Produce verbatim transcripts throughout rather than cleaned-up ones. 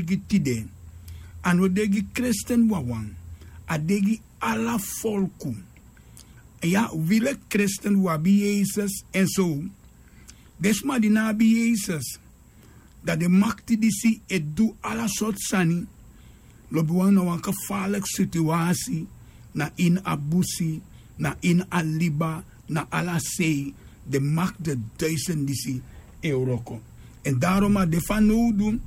gi tide, a no de gi kresten wawan, a de gi ala folku. Ya, wi leki kresten wi abi yesus. En so den sma di no abi yesus, dan den makti disi e du ala sortu sani. Lobiwan, na wan gefarliki situasi. Na ini a busi, na ini a liba, na ala sei, den makti duistan disi e wroko. En darom a de fanowdu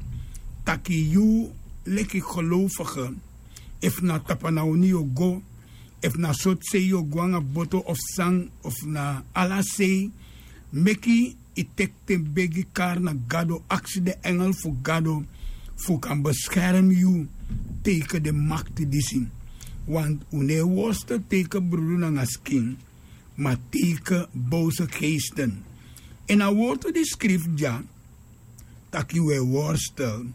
taki yu leki gelowfige, efu na tapanawni yu o go, efu na sortu sei yu o go nanga boto of san, of na ala sei, meki yu teki ten begi kari na gado, aksi den engel fu gado fu kan beskermi yu teiken den makti disi. Want un no e worstel teiken brudu nanga skin, ma teiken bose geesten. En a wortu di skrifi dya taki un e worstel,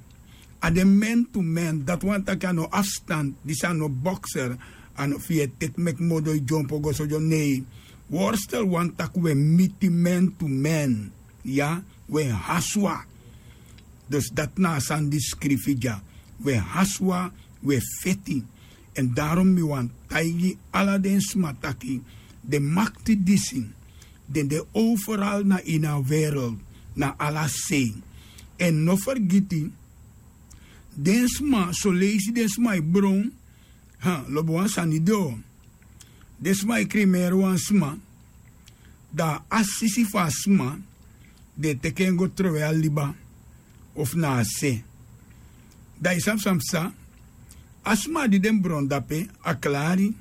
a de man to man. Dati wani taki a no afstand, disi a no bokser. A no fu yu e teki meki modo yu dyompo go so dyon nei. Worstel wani taki un e miti man to man. Ya, un e haswa. Dus dati na a sani di skrifi dya. Un e haswa, un e feti. En darom mi wani taigi ala den sma taki den makti disi, den de overal na ini a wereld, na ala sei. En no fergiti, den sma soleisi den sma e bron. Ha, lobi wan sani de o. Den sma e krimeri wan sma, dan a sisi fu a sma, den e teki en go trowe a liba, of na a se. Dan yu sabi san psa? A sma di den bron dape, a klari.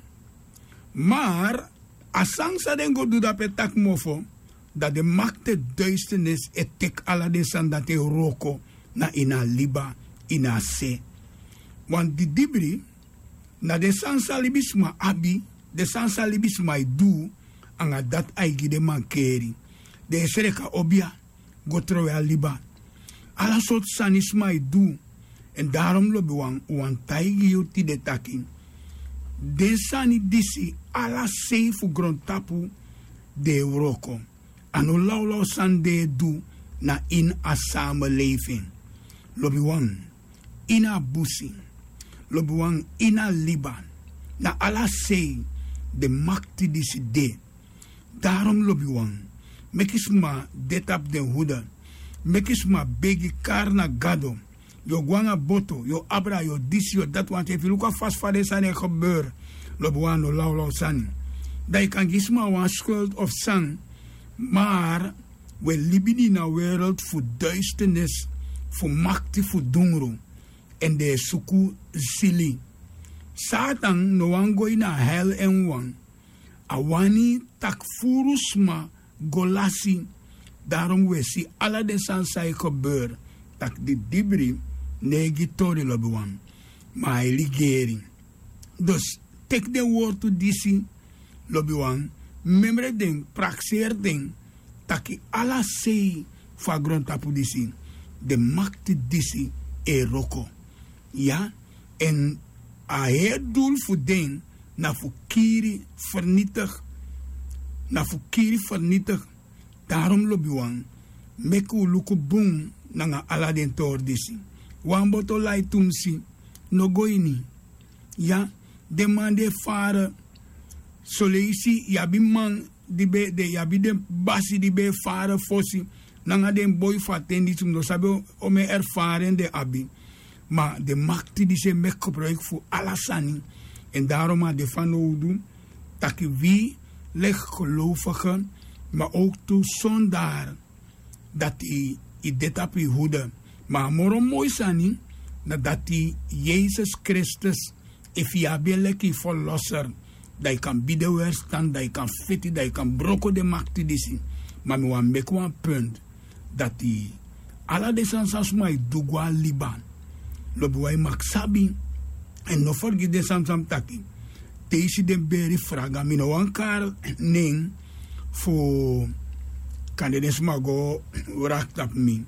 Mar a sani san den go du dape taki mofo, dan den makti duisternis e teki ala den sani dati e wroko na ini a liba, ini a se. Wan didibri, na den sani san libisma abi, den sani san libisma e du, anga dati ai gi den mankeri. Den e sreka obia go trowe a liba. Ala sortu sani sma e du. En darom lobiwan, un wani taigi yu tide taki den sani disi, ala sei fu grontapu, den e wroko. A no lawlaw sani den e du na ini a samelefin. Lobiwan, ini a busi, lobiwan, ini a liba, na ala sei den makti disi de. Darom lobiwan, meki sma de tapu den hude. Meki sma begi kari na gado. Yu o go nanga boto, yu o abra, yu o disi, yu o dati, want efu yu luku a fasi fa den sani e gebeur, lobiwan, a no lawlaw sani. Dan yu kan gi sma wan skuld of san. Mar un e libi ini a wereld fu duisternis, fu makti fu dungru. En den e suku sili. Satan no wani go ini a hel en wawan. A wani taki furu sma go lasi. Darom un e si ala den sani san e gebeur, taki didibri no e gi tori, lobiwan, ma a e ligeri. Dus teki den wortu disi, lobiwan, memre den, prakseri den, taki ala sei fu a grontapu disi, den makti disi e wroko. Ya, en a heri dul fu den na fu kiri, fernitigi. Na fu kiri, fernitigi. Darom lobiwan, meki un luku bun nanga ala den tori disi. Wan boto lai tumsi, no go ini. Ya, den man di e fara. Soleisi yu abi man di ben de, yu abi den basi di ben e fara fosi, nanga den boi fu a ten disi, mi no sabi omeni erfaren den abi. Ma den makti disi e meki gebruiki fu ala sani. En darom a de fanowdu taki wi leki gelowfige, ma owktu sondar dati yu de tapu yu hude. Ma a moro moi sani na dati Yesus Kristus, efu yu abi en leki yu verlosser, dan yu kan bidi en werstan, dan yu kan feti, dan yu kan broko den makti disi. Ma mi wani meki wan punt dati ala den sani san sma e du go a liba, lobiwan, yu maki sabi. En no fergiti den sani san mi taki. Te yu si den beri fraga, mi no wani kari nen fu kande den sma go wraki tapu mi.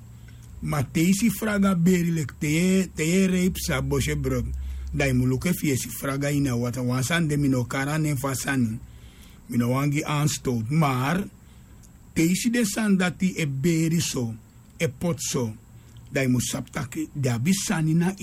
Ma te yu si fraga beri leki te yu e, te yu e reipi sa bosi e brok, dan yu mu luku efu yu e si fraga ini a watra. Wan sani de, mi no kari a nen fu a sani. Mi no wani gi anstowtu. Mar te yu si den sani dati e beri so, e poti so, Dan yu mus sabi tak' den abi sani na